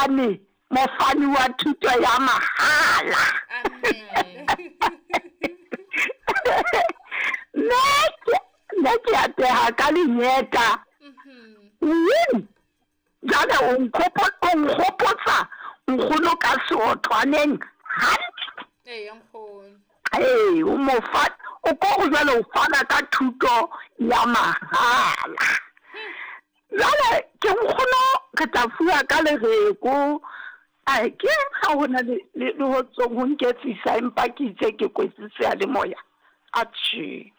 Mofani, mofani wa thuto ya mahala. Mme ke, mme ke a teha ka lengeta. Win! Jwale o nkgopo, o nkgopotsa nkgono ka seotlwaneng hantle. Eya, nkgono. Ee, o mo fa, o ko re jwale o fana ka thuto ya mahala. Jwale ke nkgono re tla fuwa ka lereko. Ae, ke eng ha ho na le, le, le ho tsong ho nketsisa empa ke itse ke kwetse seyalemoya? Atjhe.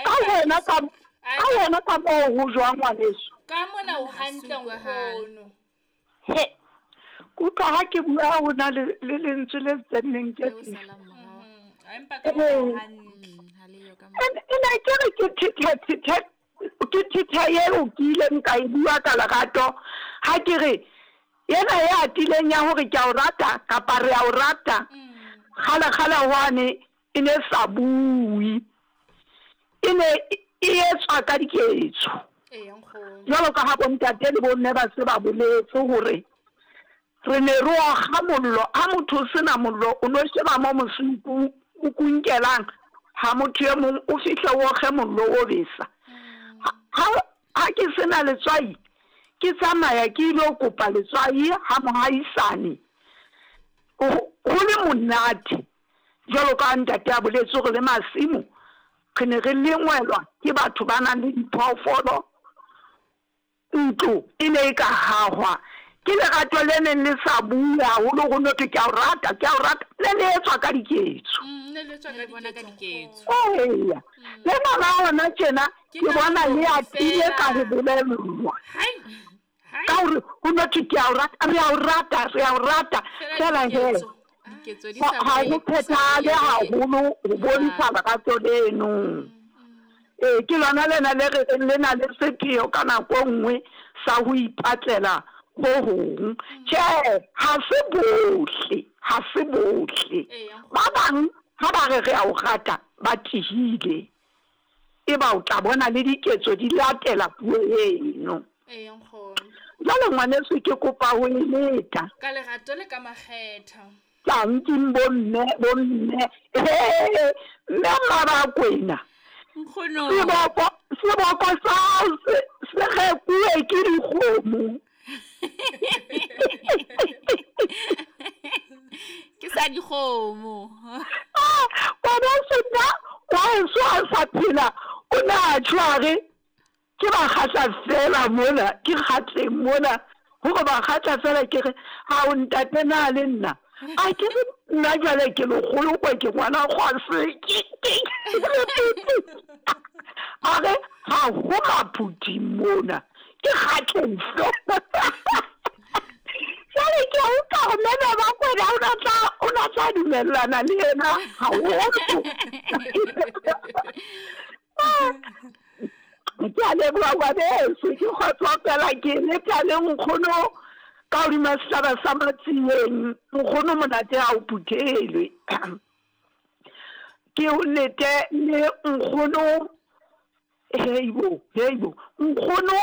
Ka wena ka, ka wena ka moo ho jwang ngwaneso? Ka mona o hantle nkgono. He, ke utlwa ha ke bua ho na le, le lentswe le tsenneng ke. Empa ka mona o hantle. E ne ke re ke thethe thethe ke thethe eo ke ileng ka e bua ka lerato ha ke re ena e atileng ya hore ke a o rata kapa re a o rata kgale kgale hwane e ne sa bue e ne e etswa ka diketso jwalo ka ha bontate le bomme ba se ba boletse hore re ne re okga mollo ha motho o sena mollo o no sheba mo mosing o kunkelang ha motho e mong o fihle o okge mollo o besa ha ha ke sena letswai ke tsamaya ke ile kopa letswai ha mohaisane ho le monate Jwalo ka ha ntate a boletse hore le masimo re ne re lengwelwa ke batho ba nang le diphoofolo, ntlo e ne e ka hahwa ke lerato le neng le sa bue haholo ho no thwe ke a o rata, ke a o rata, le ne etswa ka diketso. Ne le etswa ka diketso. Eya, lena la hona tjena ke bona le atile ka ho bolellwa. Ka gore go no thwe ke a o rata, re a o rata, re a o rata, fela he ga go phethagale haholo go bontsha lerato leno. Ee, ke lona lena le re reng le na le sepheo ka nako e nngwe sa go ipatlela go gong. Tjhe, ga se bohle, ga se bohle. Ba bang ga ba re re a o rata, ba tihile. Eba o tla bona le diketso di latela puo eno. Ee, nkgono. Jwale ngwaneso ke kopa ho e leta. Ka lerato le ka makgetha. Tanking bomme, bomme. Hee, mme Mmabakwena. Nkgono. Seboko, seboko sa hao se, se rekuwe ke dikgomo. Ke sa dikgomo. Ah, ngwaneso nna wa heso a sa phela o ne a tjho a re ke ba kgatla fela mona ke kgatleng mona gore ba kgatla fela ke re ga o ntate na le nna a ke re nna jale ke legolo kwa ke ngwana kgwase a re ga go maphuthi mona ke kgatleng fela jale ke a utlwa gore mene ba kwena o na tla dumellana le yena haholo. Ke a leboha ngwaneso, ke kgotsofela ke leta le nkgono ka hodima sehlaba sa Matsieng. Nkgono monate ha o phuthelwe. Ke o lete le nkgono. Heibo, heibo. Nkgono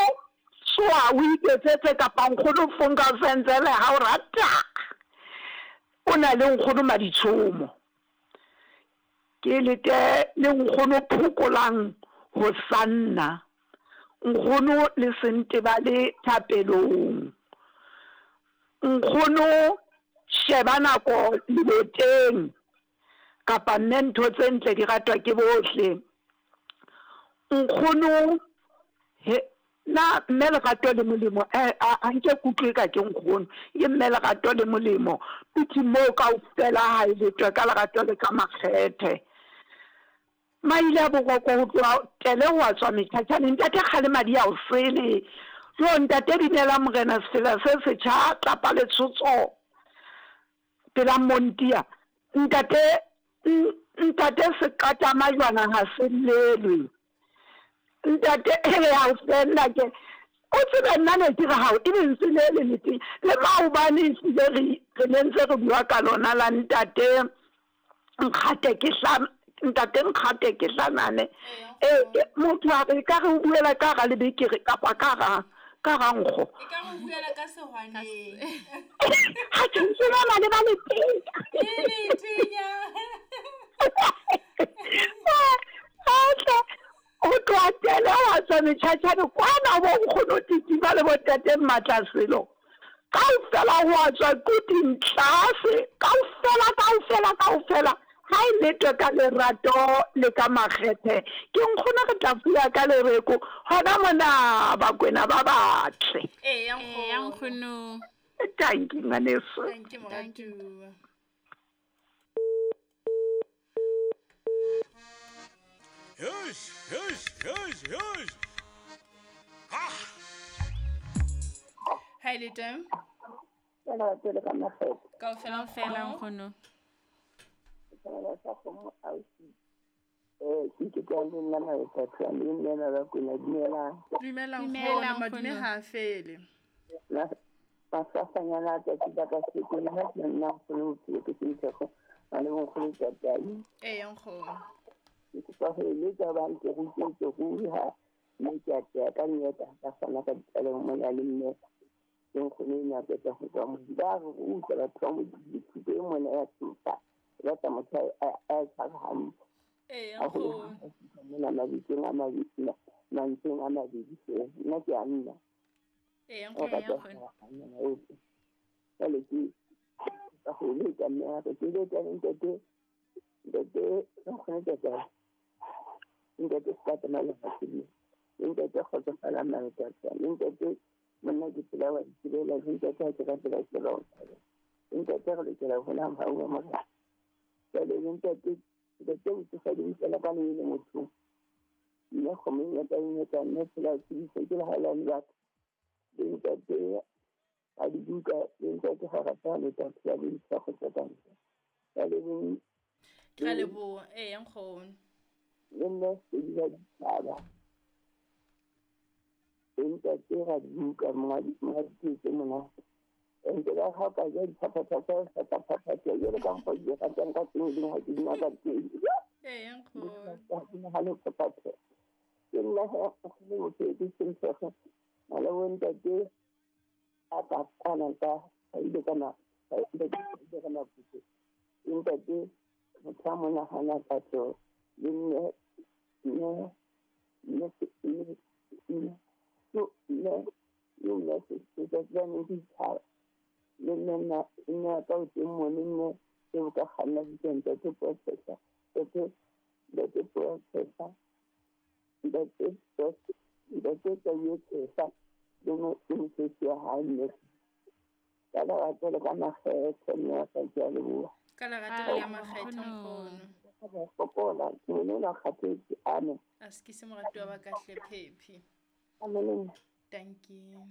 tsoa o iketsetse kapa nkgono fonka senzele ha o rata. O na le nkgono Maditshomo. Ke lete le nkgono Phokolang Hosanna. Nkgono le Sentebale thapelong. Nkgono sheba nako leboteng. Kapa mme ntho tse ntle di ratwa ke bohle. Nkgono, he, na mme lerato le molemo, eh, a, a nke ke utlwe ka ke nkgono, ke mme lerato le molemo, tutsi moo kaofela ha e letwe ka lerato le ka makgethe. Maile a boroko ho tloha tele ho a tswa metjhatjhaneng, ntate kgale madi a o sele. Jo, ntate binela morena sefela se setjha, tlapa le tshotso. Pela Montia, Ntate, ntate seqata majwana ha se llelwe. Ntate, he ha o fella ke, o tsebe nna ne ke re hao e lentswe le le letseng le maobane ehlile re re ne ntse re bua ka lona la ntate Nkgate ke hla ntate Nkgate ke hlanane. E, motho a re ka re o buela ka ga lebekere kapa ka ga ka ga nkgo. E ka re o buela ka sehwaneng. Lentswe lena le ba le tenya. E le tenya. Atle, o tloha tele wa tswa metjhatjhane kwana bo nkgono Titima le bo ntate Mmatlaselo. Kaofela ho a tswa Quthing tlase, kaofela, kaofela, kaofela. Ha e letwe ka lerato le ka makgethe. Ke nkgono re tla fuya ka lereko hona mona Bakwena ba batle. Eya Eya nkgono. nkgono. Tanki ngwaneso. Thank you moratuwa. Hush, hush, hush, hush. Ha e le teng. Lerato le ka makgethe. Kaofela Kaofela nkgono. nkgono. Setjhaba sa kgomo ausi. Ke ke ka le nna Maethathu le nna Bakwena dumelang. Dumela Dumela, nkgono, madume nkgono. ha a fele. Maswasanyana a tsatsi la kasheko nna ke nna nkgono bophelo ke Sentshego ngwana bonkgono Tatai. Eya nkgono. Ke kopa ho eletsa hobane ke rutetswe ruri ha mme ke a teya ka nnete ha ka fana ka ditlaleho mona le mme le nkgono ena a qeta ho tswa Modimo. Ba re ruta batho ba Modimo thuto e mona ya thusa. E batla motho a e tshware hantle. Eya Haholo nkgono. ha fihla mona mabitsong a mabedi, mantsweng a mabedi feela. Nna ke a nna. Eya O nkgono. rata ho kganna ohle. Jwale ke ka ho letsa mme wa ka ke letsa le ntate, ntate nkgono Tatai. Ntate Sekata Malehasedi. Le ntate Kgotsofalang Maletata. Le ntate monna ke tsela wa itsebela. Le ntate ha ke rapela ke tseba ho tshaba. Le ntate re lokela ho bona mohau wa Morena. Jwale le ntate, ntate botsofadi bo fela ka lebelo mothong. Mme kgomo e ngata e ngata, mme tsela tsebisa ke lehaelane ba ka. Le ntate a dibuka, le ntate ha rata ho leta phela le ntsha kgotsa ka ntle. Jwale le Ke a leboha. Eya nkgono. le nna Sedi wa ditjhaba. Le ntate Radibuka, monga diketso monate. Ente ba ha o ka ja diphaphatha tsa ho phaphatha jwalo ka mokgwa ke di ratang ka teng, le ha ke di ka teng. Eya nkgono. Ha ke nahane ho phaphatha. Ke nna he nkgono motho ke Sentshego. Ngwana bo ntate a ka kwana ka a ile ka ma a ile ka Maputo. Le ntate motho a mo nahana ka tlo le mme mme mme mme mme mme le mme letsatsi la ne ke itshaba. Le mme nna mme wa ka o teng mo le mme eo ka kganna bitsa ntate Professor. Ntate ntate Professor. Ntate ntate Tauwe Tshehla le mosebetsi wa hae mme. Ka lerato le ka makgethe mme wa ka ke a leboha. Ka lerato le ka makgethe Nkgono. nkgono. Ka ba fokola, ke bone ona kgathetse ame. A se ke se moratuwa wa ka hle Phephi. Ame le nna. Thank you.